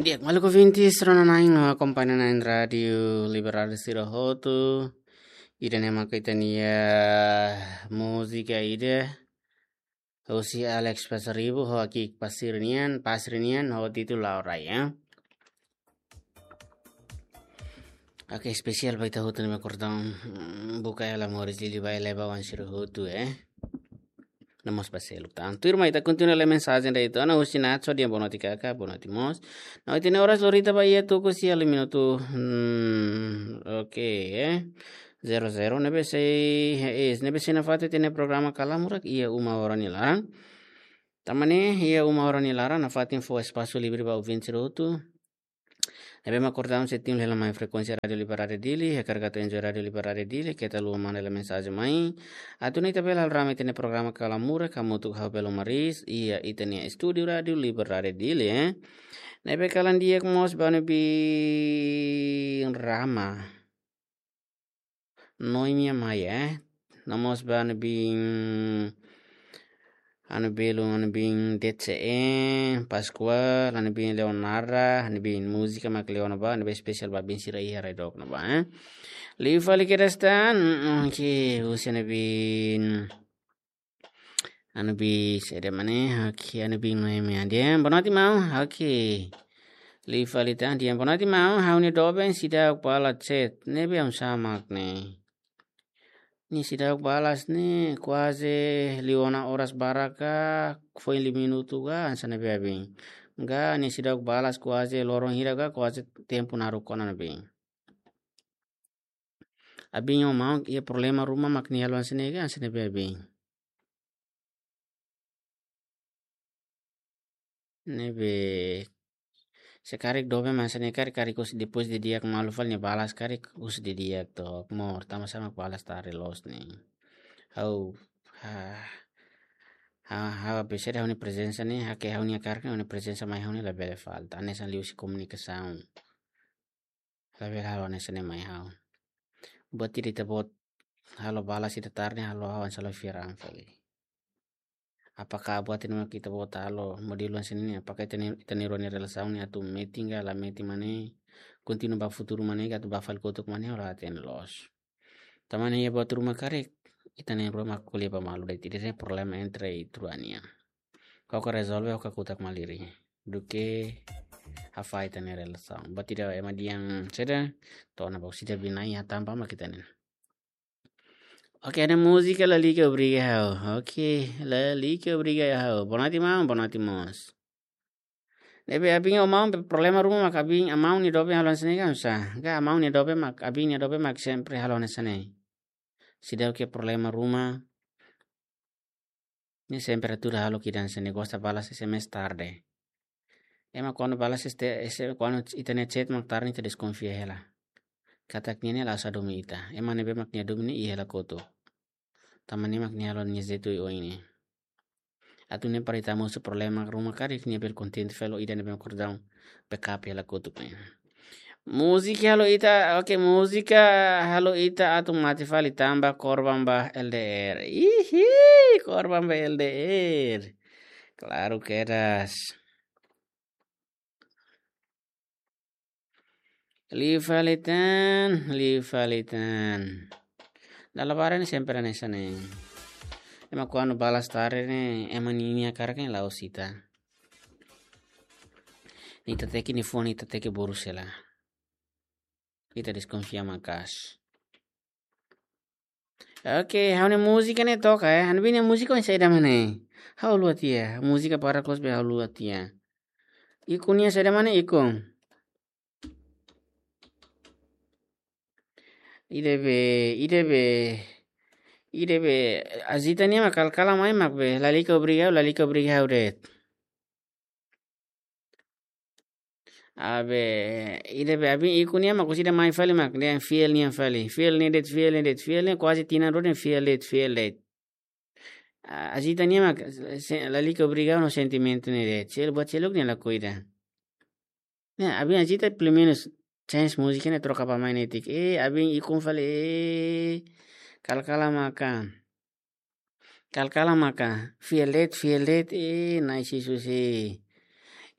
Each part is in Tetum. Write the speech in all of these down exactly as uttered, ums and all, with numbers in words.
Di'ak, maluk ouvintes, rona-na'in no akompaña na'in Rádiu Liberdade sira hotu. Ida-ne'e maka ita-nia múzika ida husi Alex Pasaribu, ho Aki Pasir nian, Pasir nian, ho títulu La'o Rai, ya. Oke, espesiál ba ita hotu ne'ebé kordon, mm, buka hela moris liuliu ba Eleba wan sira hotu, eh. No mós ba seluk tan. Tuirmai ita kontinua lee mensajen ida uitoan, husi Natso, dehan boa noite kaka, boa noite mós. No ita-nia oras lorita ba iha tuku sia liu minutu. Hmm, oke, eh. Zero zero, ne'ebé sei, eh, ne'ebé sei nafatin ita-nia programa Kalamurak iha uma oras nia laran. Tanba ne'e, iha uma oras nia laran, nafatin fó espasu livre ba ouvinte sira hotu ne'ebé mak kordon sei tune hela mai frekuénsia Rádiu Liberdade Dili, hakarak atu enjoy Rádiu Liberdade Dili, keta haluha manda hela mensajen mai. Atu nune'e ita bele halo rame ita-nia programa Kalamurak, hamutuk ho Belo Maris, iha ita-nia estúdiu Rádiu Liberdade Dili, eh. Ne'ebé kalan di'ak mós ba Nubin Rama. Noemi Amaya, eh. No mós ba Nubin, Anu Belu, Anu Bin D C E, Pascoal, Anu Bin Leonarda, Anu Bin múzika mak Leona ba, Anu Bin espesiál ba bin sira iha rai dook ne'ebá, eh. Liu fali kedas tan, mm, mm, oke, husi Anu Bin, Anu Bin, saida mak ne'e, oke, Anu Bin Noemi Adian, boa noite, maun, oke. Liu fali tan, dehan boa noite, maun, ha'u-nia doben seidauk balas chat, ne'ebé oinsá mak ne'e. Nia seidauk balas ne'e kuaze liu ona oras barak ka, foin liu minutu ka, hanesan ne'ebé abin. Ka nia seidauk balas kuaze loron hira ka, kuaze tempu naruk ona ne'ebé. Abin ho maun iha problema ruma mak nia halo hanesan ne'e ka, hanesan ne'ebé abin. Ne'ebé se karik doben mak hanesan ne'e karik, karik husu depois didi'ak malu fali nia balas karik husu didi'ak tok mós, tanba sá mak balas tarde loos ne'e. Ha'u, ha, ha, ha'u bisa dehan ha'u-nia prezensa ne'e, ha'u ke ha'u-nia karik ne'e ha'u-nia prezensa mai ha'u ne'e labele falta. Hanesan liuhusi komunikasaun. Labele halo hanesan ne'e mai ha'u. Buat ida ita-boot halo balas ita tarde, halo ha'u hanesan la fiar an fali. Apakah buat ida mak ita-boot halo modelu hanesan ne'e, apakah ita-nia, ita-nia rua nia relasaun ne'e atu metin ka la metin mak ne'e, kontinua ba futuru mak ne'e, ka atu ba fali kotuk mak ne'e, ha'u la hatene loos. Tanba ne'e iha buat ruma karik, ita na'in-rua mak ko'alia ba malu de'it, ida-ne'e problema entre ita rua nian. Kau ka rezolve, kau ka kutak malirin. Duké hafahe ita-nia relasaun. Buat ida ema dehan saida, to'o ona ba husi ida-ne'ebé na'in iha tampa mak ita-nia. Oke, ida-ne'e múzika Lalika Obriga Ha'u. Oke, Lalika Obriga Ha'u. Boa noite, maun, boa noite mós. Ne'ebé abin ho maun be problema ruma mak abin, maun nia doben halo hanesan ne'e ka oinsá. Ka maun nia doben mak, abin nia doben mak sempre halo hanesan ne'e. Seidauk iha problema ruma, nia sempre atu halo kedas hanesan ne'e, gosta balas S M S tarde. Ema kuandu balas este, ese, kuandu ita-nia chat mak tarde, ita deskonfia hela. Katak nia ne'e la'ós hadomi ita. Ema ne'ebé mak nia hadomi ne'e iha hela kotuk. Tanba ne'e mak nia halo nia jeitu oioin ne'e. Atu nune'e para ita mosu problema ruma karik nia bele kontente fali ho ida ne'ebé mak kordon backup hela kotuk ne'e. Múzika halo ita, oke, múzika halo ita atu mate fali tanba korban ba L D R. Ihi, korban ba L D R. Klaru kedas. Liu fali tan, liu fali tan. Dala barak ne'e sempre hanesan ne'e. Ema kuandu balas tarde ne'e, ema ninia karik ne'e la'ós ita. Ita teke nia fone, ita teke burus hela. Ita deskonfia maka'as. Oke, ha'u-nia múzika ne'e toka, eh. Ha'u-nia múzika oinsá ida mak ne'e. Ha'u haluha tiha. Múzika para close be ha'u haluha tiha. Ikun nian saida mak ne'e, ikun? Ida-ne'ebé, ida-ne'ebé, ida-ne'ebé, Azita nian mak kala-kala mai mak be, Lalika Obriga Ha'u, Lalika Obriga Ha'u de'it. Abe, ida-ne'ebé abin ikun nian mak husi ida mai fali mak, dehan fiel nian fali. Fiel ne'e de'it, fiel ne'e de'it, fiel ne'e kuaze tinan rua dehan fiel de'it, fiel de'it. A, Azita nian mak, se, Lalika Obriga Ha'u no sentimentu ne'e de'it. Sel, buat seluk nia lakohi ida. Ne'e, abin Azita pelumenus change múzika ne'e troka ba mai netik. Eh, abin ikun fali, eh, kala-kala maka. Kala-kala maka. Fiel de'it, fiel de'it, eh, Na'i Jezús, eh.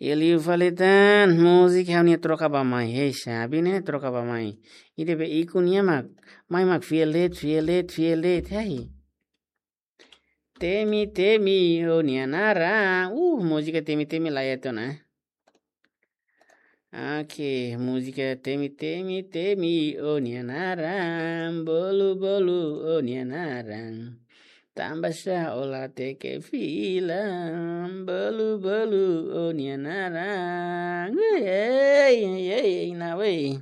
Iha liu fali tan, múzika ha'u-nia troka bá-mai. Hei, sabi ne'e troka bá-mai. Ida-ne'ebé ikun nian mak, mai mak fiel de'it, fiel de'it, fiel de'it. Hei. Temi, temi, ó-nia naran. Uh, múzika temi, temi la iha tiha ona. Oke, múzika temi, temi, temi, ó-nia naran. Bolu, bolu, ó-nia naran. Tanbasá ó la teke fila. Bolu, bolu, ó-nia naran. Ei, ei, ei, ei, na wei.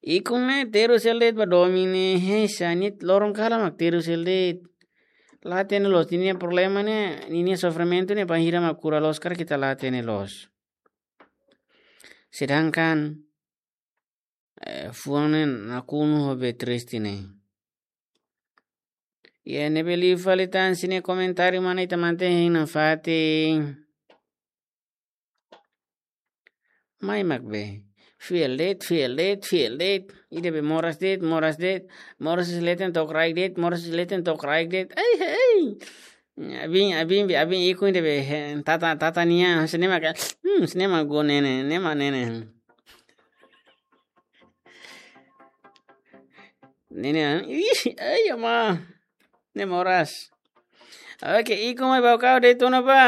Ikun ne'e terus hela de'it ba domin ne'e, hei, sá, nia loron kalan mak terus hela de'it. La hatene loos, ninia problema ne'e, ninia sofrimentu ne'e, bainhira mak kura loos karik ita la hatene loos. Sedangkan, eh, fuan ne'e nakonu ho be triste ne'e. Iha ne'ebé liu fali tan, sira-nia komentáriu mak ne'e ita mantein hein nafatin. Mai mak be. Fiel de'it, fiel de'it, fiel de'it. Ida-ne'ebé moras de'it, moras de'it. Moras leten to'o kraik de'it, moras leten to'o kraik de'it. Ai, ai. Abin, abin, abin ikun ida-ne'ebé, eh, tata, tata nian, sá ne'e mak, hmm, sá ne'e mak go nene, ne'e mak nene. Nene, ih, ai, ama. Ne'e moras. Oke, ikun mai bau kau de'it ona ba.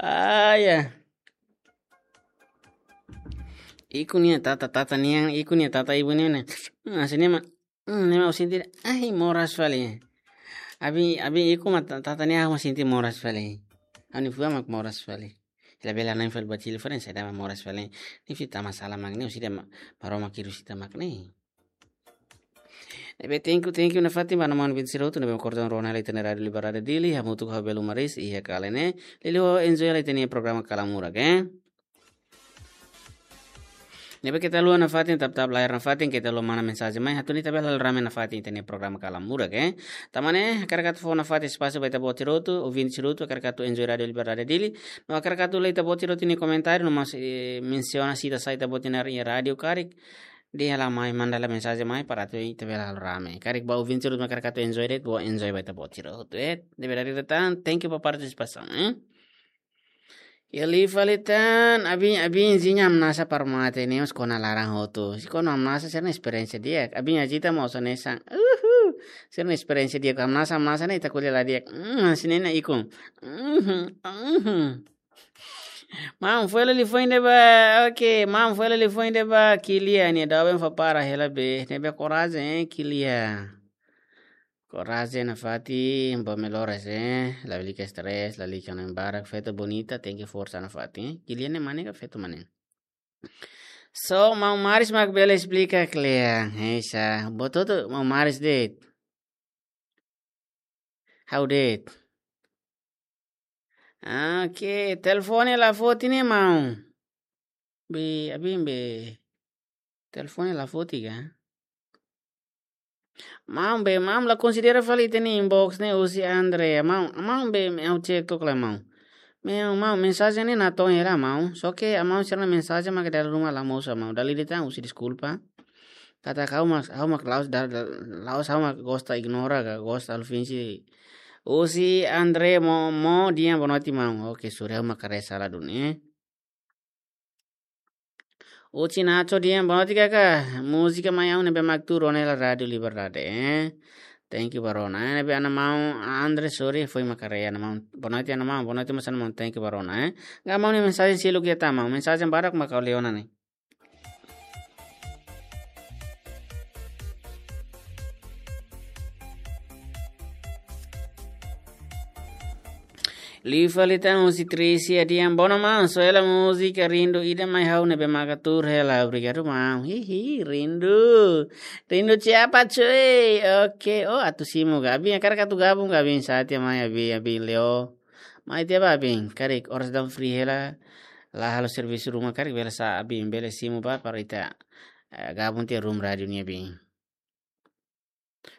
Ah, ya. Ikun nia tata, tata nian, ikun nia tata ibun nian. Hmm, sá ne'e mak, hmm, ne'e mak ó sente, ai, moras fali. Abin, abin ikun mak ta-, tata nian ha'u mak sente moras fali. Ha'u-nia fuan mak moras fali. Labele na'in fali ba Chile fali, saida mak moras fali. Ne'e fita masalah mak ne'e, ó sente ma-, Maromak hirus ita mak ne'e. Ne'ebé thank you, thank you nafatin ba mana maun Vincent Roto, ne'ebé kordon rona hela ita-nia Rádiu Liberdade Dili, hamutuk ho belu maris, iha kala ne'e. Liuliu enjoy hela ita-nia programa Kalan Murak, eh. Ne'ebé keta haluha nafatin, tap-tap layar nafatin, keta haluha manda mensajen mai, atu nune'e ita bele halo rame nafatin ita-nia programa Kalan Murak, eh. Tanba ne'e, hakarak atu fó nafatin espasu ba ita-boot sira hotu, ouvinte sira hotu, hakarak atu enjoy Rádiu Liberdade Dili. No hakarak atu lee ita-boot sira hotu nia komentáriu, no mós, eh, mensiona sita sai ita-boot nia naran iha rádiu karik. Dehan hela mai, manda hela mensajen mai para atu ita bele halo rame. Karik ba ouvinte sira hotu mak hakarak atu enjoy de'it, bele enjoy ba ita-boot sira hotu, eh. Ne'ebé dala ida tan, thank you ba partisipasaun, eh. Iha liu fali tan, abin, abin, zinya hamnasa para mate ne'e, mós kona laran hotu. Se kona hamnasa, sira-nia esperiénsia di'ak. Abin Ajita mós hanesan. Uhu. Sira-nia esperiénsia di'ak, hamnasa, hamnasa ne'e ita ko'alia la di'ak. Hmm, sá ne'e nia ikun. Mhm, mhm. Maun, foin hela liafuan ida ba, oke, maun, foin hela liafuan ida ba, Kilia nia, doben fó para hela be, ne'ebé korajen, eh, Kilia. Korajen nafatin, ba melhoras, eh, lalika stress, lalika hanoin barak, feto bonita, tenke forsa nafatin, eh. Kilia ne'e mane ka feto mane? So, maun Maris mak bele esplika kle'an, eh, sá, buat hotu, maun Maris de'it. Ha'u de'it. Oke, telefone la foti ne'e maun. Be, abin be. Telefone la foti ka? Maun be, maun la konsidera fali ita-nia inbox ne'e husi Andrea. Maun, maun be, ha'u cek tok lai maun. Maun, maun, mensajen ne'e natoon hela maun. Só ke maun sira-nia mensajen mak dala ruma la mosu maun. Dala ida tan husi deskulpa. Katak ha'u mak, ha'u mak la'ós da, da, la'ós ha'u mak gosta ignora ka, gosta halo finje. Husi Andre Mo, Mo, di'ak, boa noite maun. Oke, sorry, ha'u mak haree sala duni, eh. Husi Nacho, di'ak, boa noite kaka. Múzika mai ha'u ne'ebé mak tuur ona hela Rádiu Liberdade, eh. Thank you ba rona, eh. Ne'ebé ana maun Andre, sorry, foin mak haree ana maun. Boa noite ana maun, boa noite mós ana maun, thank you ba rona, eh. Agora maun nia mensajen seluk iha tan maun, mensajen badak mak ha'u lee ona ne'e. Liu fali tan husi Trisia, di'ak, boa maun, só hela múzika Rindu ida mai ha'u ne'ebé maka tuur hela, obrigadu maun. Hihi, rindu. Rindu siapa cuy? Oke, oh, atu simu ka. Abin hakarak atu gabung ka, abin sá tiha mai, abin, abin Leo. Mai tiha ba abin, karik oras daudaun free hela, la halo servisu ruma, karik bele sá abin bele simu ba para ita, eh, gabung tiha room rádiu nian abin.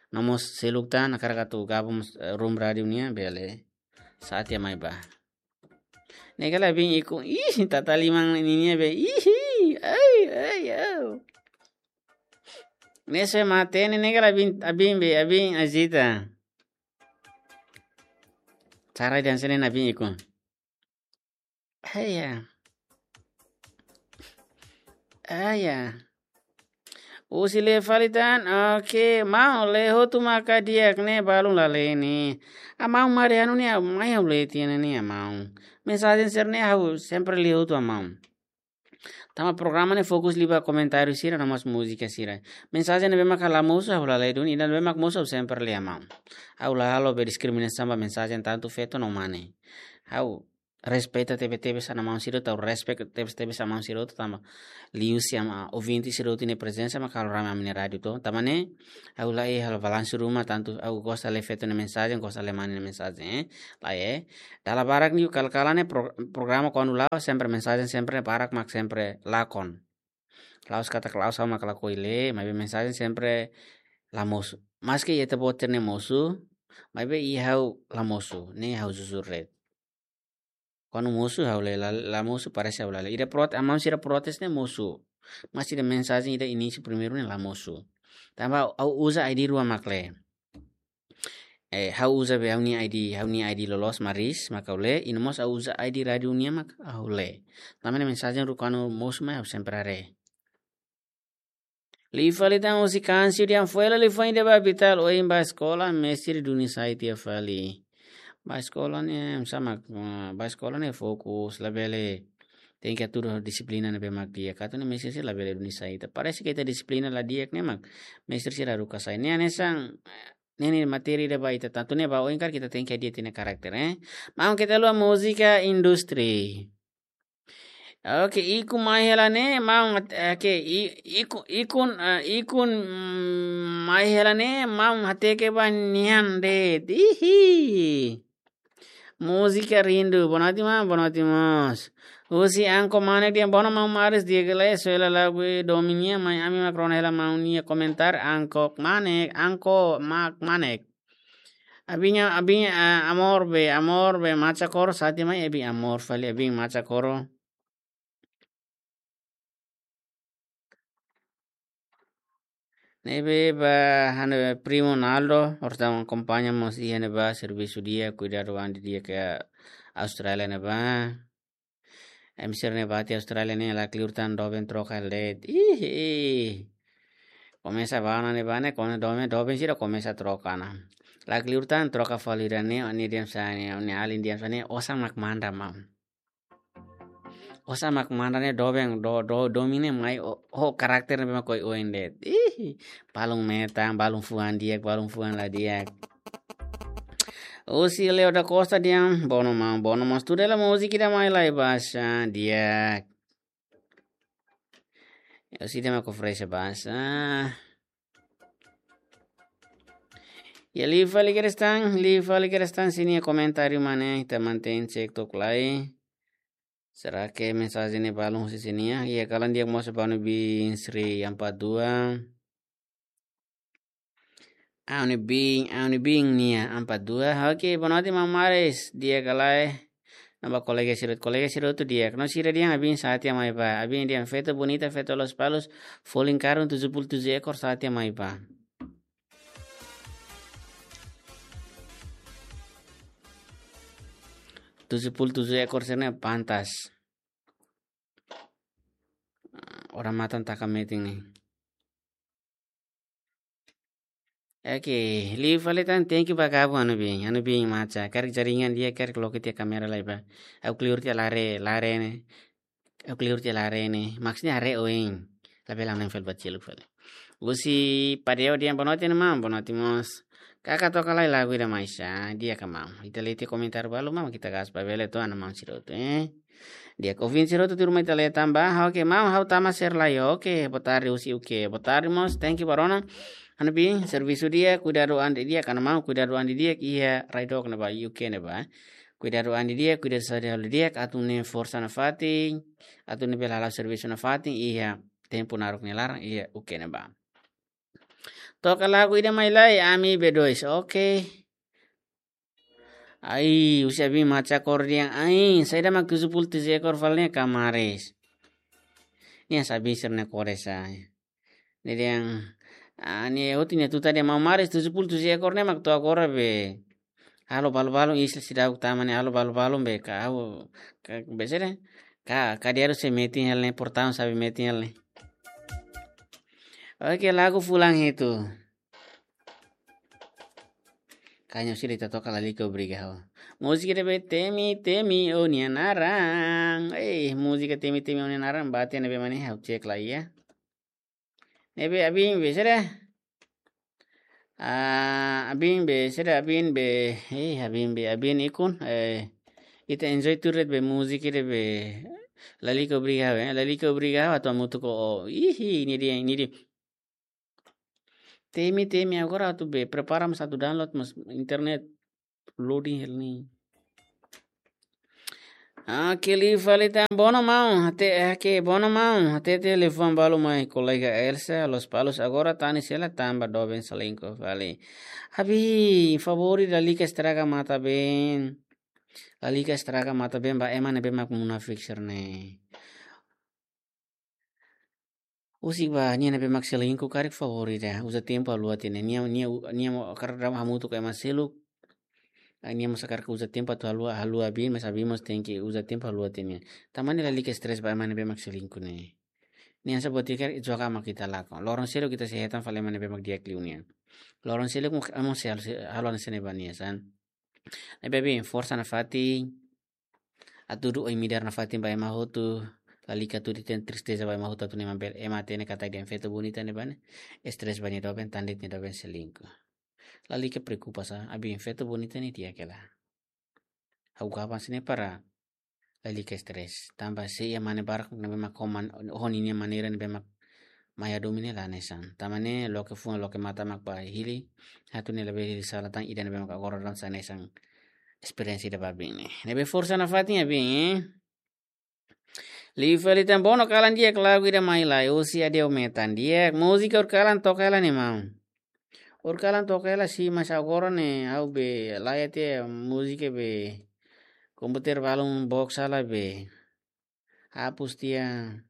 No mós seluk tan hakarak atu gabung, eh, room rádiu nian bele sá tiha mai ba. Ne'e kala abin ikun, ih, tata liman ninia be, ih, ai, ai, au. Ne'e só mate ne'e, ne'e kala abin, abin be, abin Ajita. Tara dan sene na bin ikun. Haya. Haya. Husi lee fali tan, oke, maun, lee hotu maka di'ak ne'e, balun la lee ne'e. Amaun, mari anu ne'e, mai ha'u lee tiha ne'e, amaun. Mensajen sira-ne'e ha'u sempre lee hotu, amaun. Tanba programa ne'e fokus liu ba komentáriu sira no mós múzika sira. Mensajen ne'ebé maka la mosu ha'u la lee duni, ida ne'ebé mak mosu ha'u sempre lee, amaun. Ha'u la halo be diskriminasaun ba mensajen tantu feto no mane. Ha'u respeita tebetebes ona maun sira hotu, ha'u respect tebetebes ona maun sira hotu tanba liuhusi ami-nia ouvinte sira hotu nia prezensa maka halo rame ami-nia rádiu to. Tanba ne'e, ha'u la'ós halo balansu ruma tantu ha'u gosta lee feto nia mensajen, gosta lee mane nia mensajen, eh. Lae, eh. Dala barak liu kala-kala ne'e pro-, programa kuandu la'o sempre mensajen sempre barak mak sempre lakon. La'ós katak la'ós ha'u mak lakohi lee, maibé mensajen sempre la mosu. Maski iha ita-boot sira-ne'e mosu, maibé iha ha'u la mosu, ne'e ha'u jujur de'it. Kuandu mosu ha'u lee, la, la mosu parese ha'u la lee. Ida prot-, amaun sira protes ne'e mosu. Mas ida mensajen ida inísiu primeiru ne'e la mosu. Tanba ha'u uza I D rua mak lee. Eh, ha'u uza be ha'u-nia I D, ha'u-nia I D loloos Maris mak ha'u lee, i no mós ha'u uza I D rádiu nian mak ha'u lee. Tanba ne'e mensajen rua kuandu mosu mai ha'u sempre haree. Liu fali tan husi Kansiu dehan foin hela liafuan ida ba Vital, ohin bá eskola, mestre duni sai tiha fali. Bá eskola ne'e, sama, ah, bá eskola ne'e fokus, labele, tenke hatudu dixiplina ne'ebé mak di'ak. Atu nune'e mestre sira labele duni sai ita. Parese ke ita dixiplina la di'ak ne'e mak mestre sira haruka sai. Ne'e hanesan, ne'e, ne'e matéria ida ba ita tantu ne'e ba oin karik ita tenke hadi'a ita-nia karakter, eh. Maun, keta haluha múzika industri. Oke, ikun mai hela ne'e, maun, oke, i-, ikun, ikun, eh, ikun, mm, mai hela ne'e, maun, hateke ba nian de'it. Ihi. Múzika rindu, boa noite, maun, boa noite, mós. Husi Anko Manek dehan, boa noite, maun Maris, di'ak ka lae, soe hela lagu domin nian, mai ami mak rona hela maun nia komentáriu, Anko Manek, Anko Mak Manek. Abin, abin, ah, amor be, amor be, macha koro, sati mai, abin amor fali, abin macha koro. Ne'ebé ba ha'u-nia primu Naldo, orsida akompaña mós iha ne'ebá servisu di'ak, kuidadu an didi'ak iha Austrália ne'ebá. Em sira ne'ebá iha Austrália ne'e lakleur tan doben troka de'it. Ih, ih. Komesa bá ona ne'ebá ne'e, kona doben, doben sira komesa troka ona. Lakleur tan troka fali ida ne'e, ne'e dehan sá ne'e, ne'e alin dehan sá ne'e, osan mak manda maun. Osan mak manda ne'e doben, do, do, domin ne'e mai, o, o karakter ne'ebé mak oioin de'it. Ih, balun metan, balun fuan di'ak, balun fuan la di'ak. Husi Leo da Costa dehan, boa noite maun, boa noite maun. Tudo ela múzika ida mai lai baixa, di'ak. Husi ida mak oferese baixa. Ya, liu fali kedas tan, liu fali kedas tan sira-nia komentáriu mak ne'e, ita mantein cek tok lai. Será ke mensajen ne'e balun husi sira-nia? Ya, kalan di'ak mós ba ha'u-nia biin Sri empat dua. Ha'u-nia biin, ha'u-nia biin nia empat dua. Oke, boa noite maun Maris, di'ak ka lae? No ba kolega sira, kolega sira hotu di'ak. No sira dehan abin sá tiha mai bá. Abin dehan feto bonita, feto Lospalos, folin karun tujuh puluh tujuh ekor sá tiha mai bá. Tujuh puluh tujuh ekor sira-ne'e pantas. Orang matan taka meeting ne'e. Oke, liu fali tan, thank you ba gabung ha'u-nia biin, ha'u-nia biin macha. Karik jaringan di'ak, karik loke tiha kámera lai bá. Ha'u kleur tiha la haree, la haree ne'e. Ha'u kleur tiha la haree ne'e. Maksudnya haree oin. Labele nempel ba seluk fali. Husi Padeo dehan boa noite maun, boa noite mós. Kaka toka lai lagu ida mai sá, di'ak ka maun? Ita lee tiha komentáriu balu maun, ita gas ba bele to'o ona maun sira hotu, eh. Di'ak, ouvinte sira hotu tuirmai ita lee tan ba, oke, maun ha'u tama sira lai, oke, boa tarde husi U K, boa tarde mós, thank you ba rona. Ha'u-nia biin, servisu di'ak, kuidadu an didi'ak, ha'u-nia maun, kuidadu an didi'ak, iha rai dook ne'ebá, U K ne'ebá. Kuidadu an didi'ak, kuidadu saúde halo didi'ak, atu nune'e forsa nafatin, atu nune'e bele hala'o servisu nafatin, iha tempu naruk nia laran, iha U K ne'ebá. Toka lagu ida mai lai, Ami B dois, oke. Ai, husi abin macha koro dehan, ai, saida mak tujuh puluh tujuh ekor fali ne'e ka Maris? Ne'e sá abin sira-nia kore sá. Ne'e dehan, ah, ne'e hotu nia tutan dehan maun Maris tujuh puluh tujuh ekor ne'e mak to'o agora be. Halo balu-balu isla seidauk tama ne'e, halo balu-balu be ka ha'u, ka, be sede. Ka, kadiaru sei metin hela ne'e, portaun sabi metin hela ne'e. Oke, lagu fulan hitu. Kaña sira ita toka Lalika Obriga Ha'u. Múzika ida be temi, temi, ó-nia naran. Eh, múzika temi, temi, ó-nia naran. Bate ne'ebé mak ne'e, ha'u cek lai iha. Ne'ebé abin be sede. Ah, abin be sede, abin be. Eh, abin be, abin ikun. Eh, ita enjoy tuir de'it be múzika ida be. Lalika Obriga Ha'u, eh. Lalika Obriga Ha'u atu hamutuk ho ó. Ihi, ne'e dia, ne'e dia. Temi, temi agora atu be prepara mós atu download mós internet loading hela ne'e. Ah, ke li fali tan bono maun, até, eh, ke bono maun, até telefone balu mai kolega Elsa, Lospalos agora tanis hela tanba doben selingkuh fali. Abi, favór lalika estraga matan-been. Lalika estraga matan-been ba ema ne'ebé mak munafik sira-ne'e. Husik ba nia ne'ebé mak selingkuh karik favór ida. Uza tempu haluha tiha ne'e. Nia, nia, nia mós hakarak hamutuk ho ema seluk. Ah, nia mós hakarak uza tempu atu haluha, haluha abin, mas abin mós tenke uza tempu haluha tiha ne'e. Tanba ne'e lalika stress ba ema ne'ebé mak selingkuh ne'e. Nia hanesan buat ida karik joga mak ita lakon. Loron seluk ita sei hetan fali ema ne'ebé mak di'ak liu nia. Loron seluk mós, mós sei halo, sei halo hanesan ne'e ba nia, sá. Ne'ebé abin, forsa nafatin. Atu du'oin midar nafatin ba ema hotu, lalika tuir ita-nia tristeza ba ema hotu atu nune'e ema bele, ema hatene katak ida-ne'e feto bonita ne'ebá ne'e stress ba nia doben, tanba de'it nia doben selingkuh. Lalika preokupa sá, abin, feto bonita ne'e di'ak hela. Ha'u gaban hanesan ne'e para lalika stress. Tanba se iha mane barak ne'ebé mak ho man-, ho ninia maneira ne'ebé mak mai hadomi ne'e la hanesan. Tanba ne'e loke fuan loke matan mak ba hili, atu nune'e labele hili sala tan ida ne'ebé mak agora daudaun sai hanesan esperiénsia ida ba abin ne'e. Ne'ebé forsa nafatin abin, eh. Liu fali tan bono kalan di'ak lagu ida mai lai. Husi Ade Ometan di'ak. Múzika Urkalan toka hela ne'e maun. Urkalan toka hela sih, mas agora ne'e ha'u be laiha tiha múzika be komputer balun box sala be. Hapus tiha.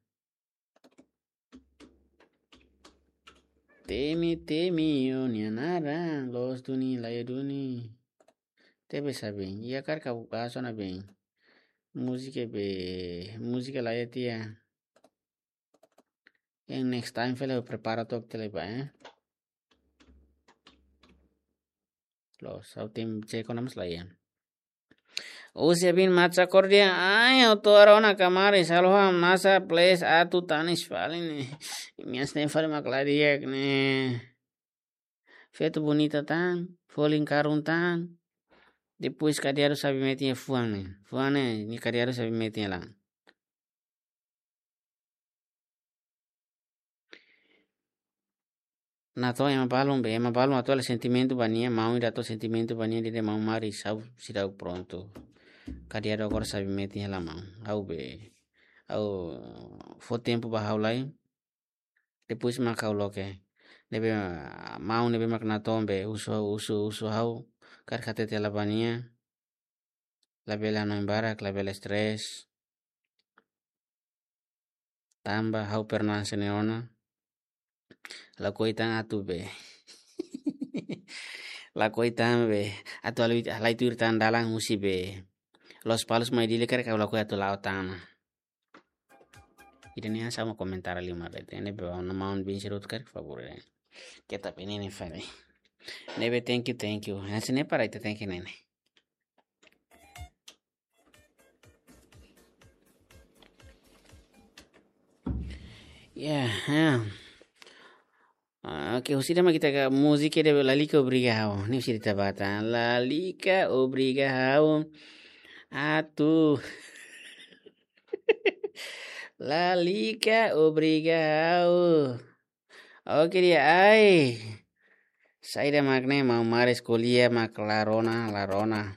Temi, temi, ó-nia naran, loos duni, laiha duni. Tebe sa bem. Iha karik ka buka sona bem. Múzika be, múzika laiha tiha. Yang next time fali prepara tok tele ba, eh. Loos, ha'u-nia tim ceko namas laiha. Husi abin mak Chakor dehan, ai, ha'u to'o rona kamaris, halo hamnasa, please, atu tanis fali ne'e. Imi hanesan ne'e fali mak la di'ak ne'e. Feto bonita tan, folin karun tan. Depois kadiaru sabi metin iha fuan ne'e. Fuan ne'e, nia kadiaru sabi metin iha laran. Natoon ema balun be, ema balun atu halo sentimentu ba nia, maun ida atu sentimentu ba nia, dehan maun maris, ha'u seidauk prontu. Kadiaru agora sabi metin hela maun. Ha'u be, ha'u fó tempu ba ha'u lai. Depois mak ha'u loke. Ne'ebé, maun ne'ebé mak natoon be, husu, husu, husu ha'u. Karik hatete hela ba nia. Labele hanoin barak, labele stress. Tanba ha'u pernah hanesan ne'e ona. Lakohi tan atu be. Lakohi tan be. Atu halai, halai tuir tan dalan husi be Lospalos mai Dili karik ha'u lakohi atu la'o tan ona. Ida-ne'e hanesan mak komentar lima be. Ne'ebé ba ona maun bin sirut karik favór, eh. Keta pe ne'e ne'e fali. Ne'ebé thank you, thank you. Hanesan ne'e para ita thank you ne'e ne'e. Ya, ya. Ah, oke, husi ida mak ita ka múzika ida Lalika Obriga Ha'u. Ne'e husi ida ita bá tan. Lalika Obriga Ha'u. Atu. Lalika Obriga Ha'u. Oke di'ak, ai. Saida mak ne'e maun maris ko'alia mak la rona, la rona.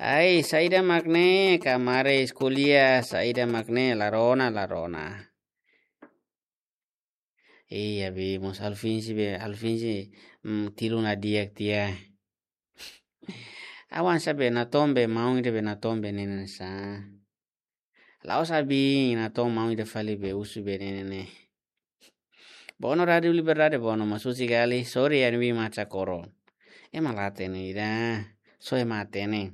Ai, saida mak ne'e kamaris ko'alia, saida mak ne'e la rona, la rona. Iya, be, mós Alfinsi be, Alfinsi, mm, tilun la di'ak tiha. Awan sa be natoon be, maun ida be natoon be ne'e hanesan. La'ós abin natoon maun ida fali be husu be ne'e ne'e ne'e. Bono Rádio Liberdade bono, mas husi Gali, sorry ya, ne'ebé mak Chakor. Ema la hatene ida. Só ema hatene.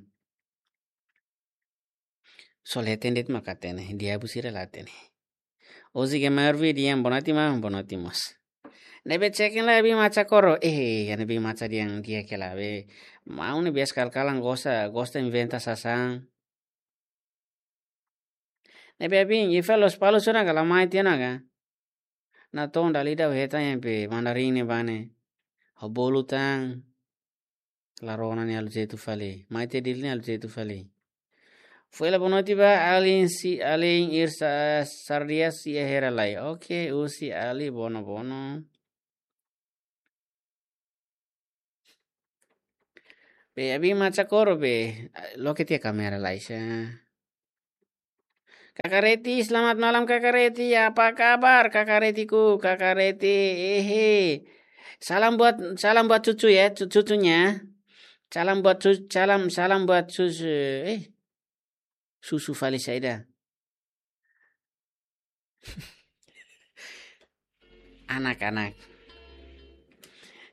Só la hatene de'it mak hatene. Diabu sira la hatene. Hoje ke maior vídeo yang bonati mah, bonati mós. Ne'ebé check-in lai Abi Macha Koro. Eh, ya Abi Macha di'ak di'ak hela be. Maun ne'e biasa kal-kalan gosta, gosta inventa sasán. Ne'ebé Abi, ifa Lospalos ona ka la mai tiha ona ka. Natoon dala ida ha'u hetan yang pe Mandarin ne'ebá ne'e. Ha'u bolu tan. La rona ne'e halo jetu fali. Mai tiha Dili ne'e halo jetu fali. Foin la bonoti ba, alin si, alin irsa sardias si ahera lai. Oke, husi Ali bono bono. Be, Abi Macha Koro be, loke tiha kamera lai sa. Kaka Reti, selamat malam Kaka Reti. Apa kabar Kaka Retiku? Kaka Reti, ehe. Salam buat, salam buat cucu ya, cu-, cucunya. Salam buat cu-, salam, salam buat cucu. Eh, susu fali saida. Anak-anak.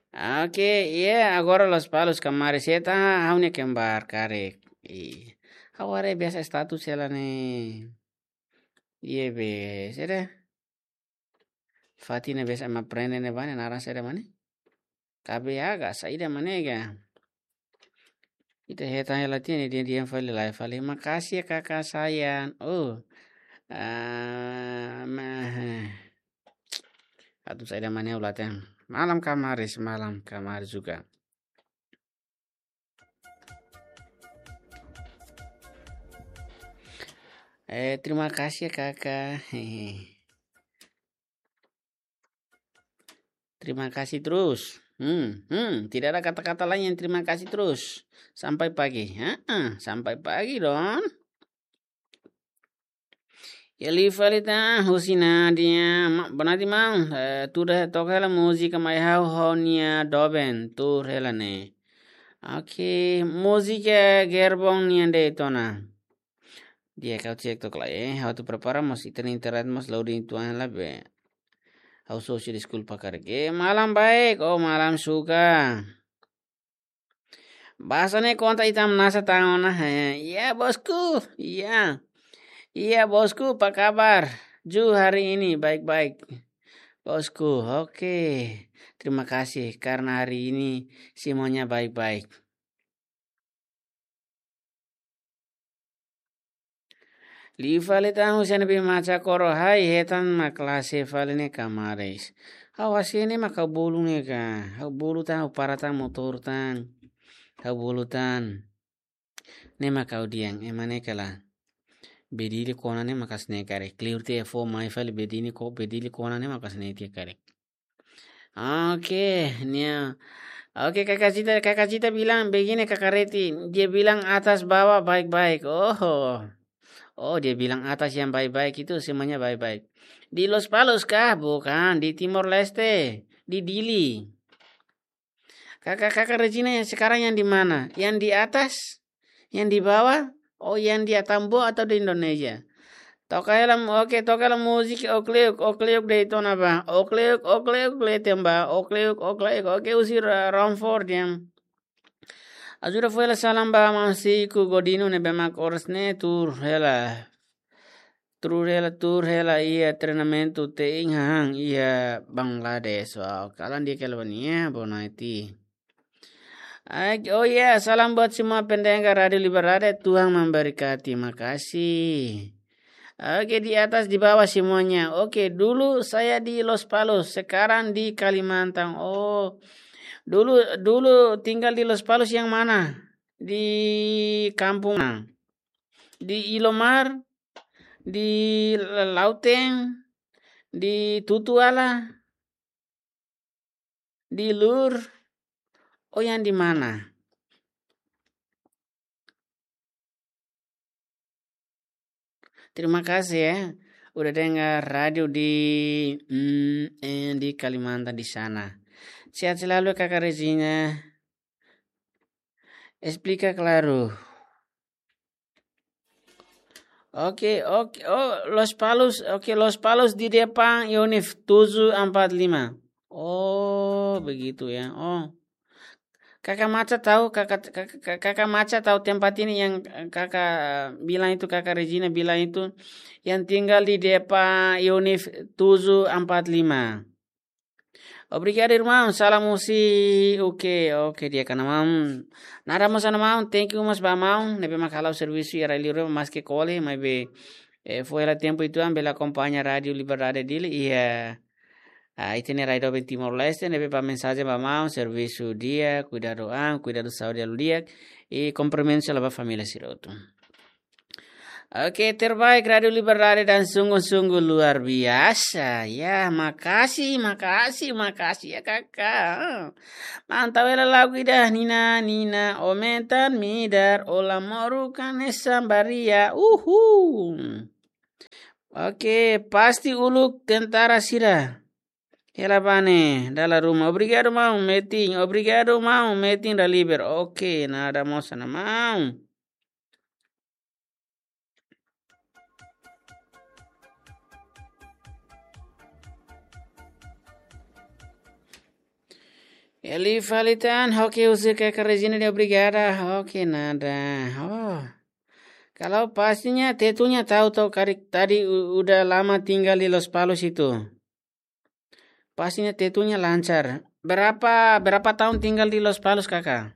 Oke, iya, agora Lospalos kamaris, ita ha'u-nia kembar karik. Ih, ha'u haree biasa status hela ne'e. Iya be, saida. Fatin ne'e biasa ema prende ne'ebá ne'e naran saida mak ne'e. Kabe aga, saida mak ne'e ka. Ita hetan hela tiha ne'e di'ak-di'ak fali lai fali. Makasih ya kakak sayang. Oh. Ah, mah. Atu saida mak ne'e ulatan. Malam kamaris, malam kamaris juga. Eh, terima kasih ya kakak. Terima kasih terus. Hmm, hmm, tidak ada kata-kata lain yang terima kasih terus. Sampai pagi. Heeh, sampai pagi dong. Ya liu fali tan, husi Nadia, ma-, bonati maun, eh, tuur took hela múzika mai ha'u ho nia doben, tuur hela ne'e. Oke, múzika Gerbong nian de'it ona. Di'ak, ha'u cek took lai, eh. Ha'u atu prepara mós ita-nia internet mós loading tuan la be. Ha'u sosa deskulpa karik. Eh, malam baik. Oh, malam suka. Bahasa ne'e konta ita manasa tan ona, eh. Iya, bosku. Iya. Iya, bosku, apa kabar? Ju hari ini baik-baik. Bosku, oke. Terima kasih karena hari ini semuanya baik-baik. Liu fali tan husi Abi Macha Koro, hai hetan mak la hase'e fali ne'e kamaris. Ha'u hase'e ne'e mak ha'u bolu ne'e ka. Ha'u bolu tan, ha'u para tan, motór tan. Ha'u bolu tan. Ne'e mak ha'u dehan, ema ne'e kala. Bee Dili kona ne'e mak hanesan ne'e karik. Kleur tiha fó mai fali Bee Dili ko, Bee Dili kona ne'e mak hanesan ne'e tiha karik. Oke, nia. Oke, Kakak Cita, Kakak Cita bilang begini, Kakak Reti. Dia bilang atas bawah baik-baik. Oh. Oh, dia bilang atas yang baik-baik itu semuanya baik-baik. Di Lospalos kah? Bukan, di Timor Leste, di Dili. Kakak, Kakak Regina yang sekarang yang di mana? Yang di atas? Yang di bawah? Oh, yang di Atambua atau di Indonesia? Toka hela, oke, toka hela múzika Okleuk, Okleuk de'it ona ba. Okleuk, Okleuk, leten ba. Okleuk, Okleuk, oke, husi Ra-, Romford yang. Ajuda fó hela salam ba maun Siku Godinu ne'ebé mak oras ne'e tuur hela. Tuur hela, tuur hela iha treinamentu te'in hahán iha Bangladesh. Wow, kalan di'ak hela ba nia, bonati. Ai, oh ya, salam buat semua pendengar Rádio Liberdade, Tuhan memberkati. Makasih. Oke, di atas, di bawah semuanya. Oke, dulu saya di Lospalos, sekarang di Kalimantan. Oh, dulu, dulu tinggal di Lospalos yang mana? Di kampung mana? Di Ilomar, di Lauteng, di Tutuala, di Lur, oh, yang di mana? Terima kasih ya, udah dengar radio di, mm, eh, di Kalimantan di sana. Sehat selalu, Kakak Regina. Esplika klaru. Oke, oke. Oh, Lospalos. Oke, Lospalos di depan unit tujuh empat lima. Oh, begitu ya. Oh. Kaka Maca tahu, kaka, kaka, kaka Maca tahu tempat ini yang kaka bilang itu, kaka Regina bilang itu, yang tinggal di depan unit tujuh empat lima. Obrigadu, irmaun. Salam husi, oke, oke, di'ak ona maun. Nada mós ona maun, thank you mós ba maun. Ne'ebé mak halo servisu iha rai liur, maske kole, maibé, eh, foin hela tempu uitoan bele akompaña Rádiu Liberdade Dili iha, ah, ita-nia rai doben Timor-Leste, ne'ebé ba mensajen ba maun, servisu di'ak, kuidadu an, kuidadu saúde halo di'ak, i kumprimentu selalu ba família sira hotu. Oke, terbaik Rádiu Liberdade dan sungguh-sungguh luar biasa. Ya, makasih, makasih, makasih ya, Kaka. Mantap ya lagu ida, Nina, Nina, ometan midar, ola moru kane sambaria. Uhu. Oke, pasti uluk tentara sira. Hela bá ne'e, dala ruma. Obrigadu, maun Metin. Obrigadu, maun Metin da Liber. Oke, nada mós ona maun. Eli fali tan, oke, husi kaka Regina dehan obrigada, oke, nada. Oh. Kalau pastinya Tetunya tahu toh, karik tadi u-, udah lama tinggal di Lospalos itu. Pastinya Tetunya lancar. Berapa, berapa tahun tinggal di Lospalos, Kaka?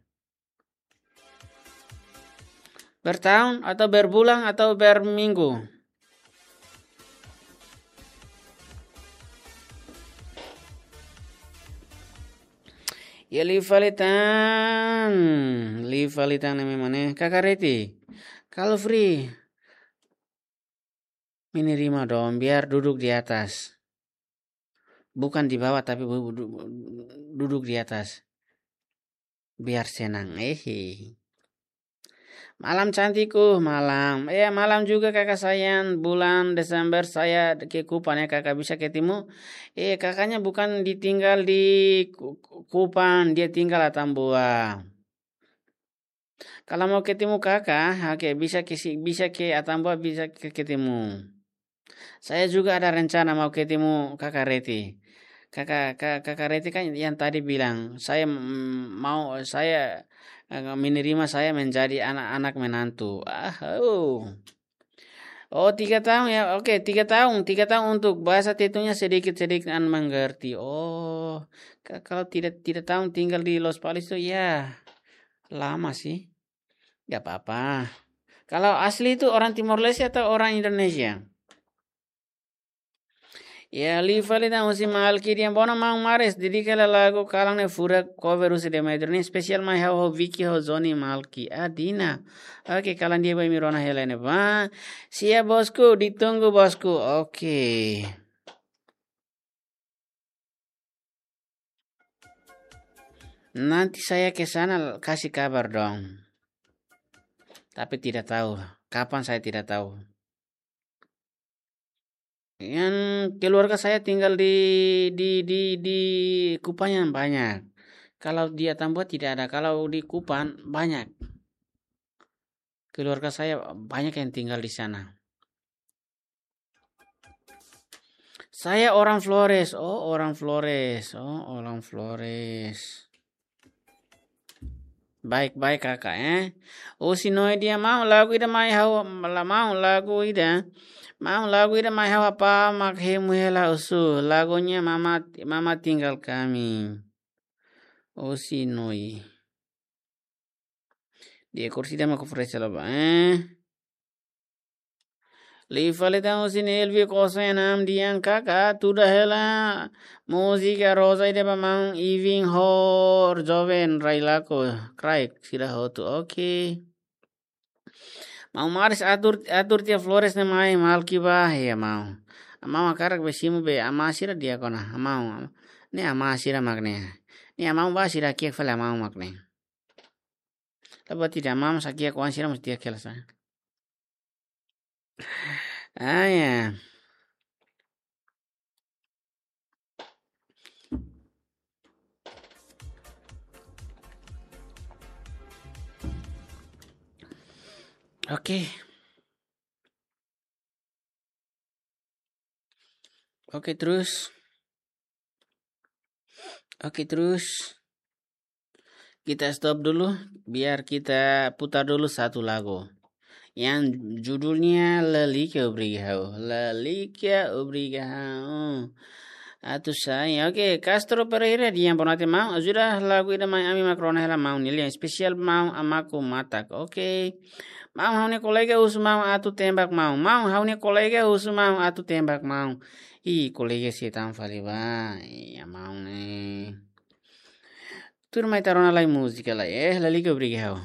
Bertahun atau berbulan atau berminggu? Ya, liu fali tan, liu fali tan ne'e mak ne'e. Kaka Reti, kalau free, mini rima dong, biar duduk di atas. Bukan di bawah, tapi bu-, bu-, du-, duduk di atas. Biar senang. Ehe. Malam cantikku, malam. Ya, malam juga kakak sayang. Bulan Desember saya ke Kupang ya, kakak bisa ketemu. Eh, kakaknya bukan ditinggal di Ku-, Ku-, Kupang, dia tinggal Atambua. Kalau mau ketemu kakak, oke, bisa ke si-, bisa ke Atambua, bisa ke ketemu. Saya juga ada rencana mau ketemu kakak Reti. Kakak, ka-, kakak Reti kan yang tadi bilang, saya, mm, mau, saya, eh, menerima saya menjadi anak-anak menantu. Ah, oh. Oh, tiga tahun ya. Oke, tiga tahun. Tiga tahun untuk bahasa Tetunya sedikit-sedikit an mengerti. Oh, ka-, kalau tiga, tiga tahun tinggal di Lospalos itu ya lama sih. Gak apa-apa. Kalau asli itu orang Timor Leste atau orang Indonesia? Ya, liu fali tan husi Malki dehan: "Bonan maun Maris, dedika hela lagu kalan ne'e furak cover husi Dema Edroni, spesiál mai ha'u ho Vicky ho Zoni Malki." Ah, Dina. Oke, kalan di'ak ba imi rona hela ne'ebá. Siap, bosku, ditunggu, bosku. Oke. Nanti saya ke sana kasih kabar dong. Tapi tidak tahu. Kapan saya tidak tahu. Yang keluarga saya tinggal di, di, di, di Kupang yang banyak. Kalau di Atambua tidak ada. Kalau di Kupang banyak. Keluarga saya banyak yang tinggal di sana. Saya orang Flores. Oh, orang Flores. Oh, orang Flores. Baik, baik, kakak, eh. Husi Noi dehan: "Maun, lagu ida mai ha'u, la-, maun, lagu ida. Maun, lagu ida mai ha'u, apá mak hemu hela husu. Lagunya Mama, Mama Tinggal Kami." Husi Noi. Dia kursi dia mau ke fresh lah, Pak, eh. Liu fali tan husi Nelvi Kosen am dian kaka, tuda hela múzika Rosa ida ba maun Ivin ho joven rai lakohi, kraik sira hotu. Oke. Maun Maris atur, atur tiha Flores ne'e mai Malki bá, ya maun. Maun hakarak be simu be amá sira di'ak ona, maun. Ne'e amá sira mak ne'e. Ne'e maun bá sira kiak fali maun mak ne'e. Tapi tidak, maun sakia kuan sira mesti dia kelas, ah. Ah, ya. Oke. Oke, terus. Oke, terus. Kita stop dulu, biar kita putar dulu satu lagu. Yang judulnya Lalika Obriga Ha'u. Lalika Obriga Ha'u. Atu sai. Oke, Castro Pereira, di'ak, boa noite maun. Ajuda lagu ida mai, ami mak rona hela maun nia lian. Espesiál maun, Amaku Matak. Oke. Maun, ha'u-nia kolega husu maun atu tembak maun. Maun, ha'u-nia kolega husu maun atu tembak maun. Ih, kolega sei tan fali ba. Iya, maun ne'e. Tuirmai ita rona lai múzika lai. Eh, Lalika Obriga Ha'u.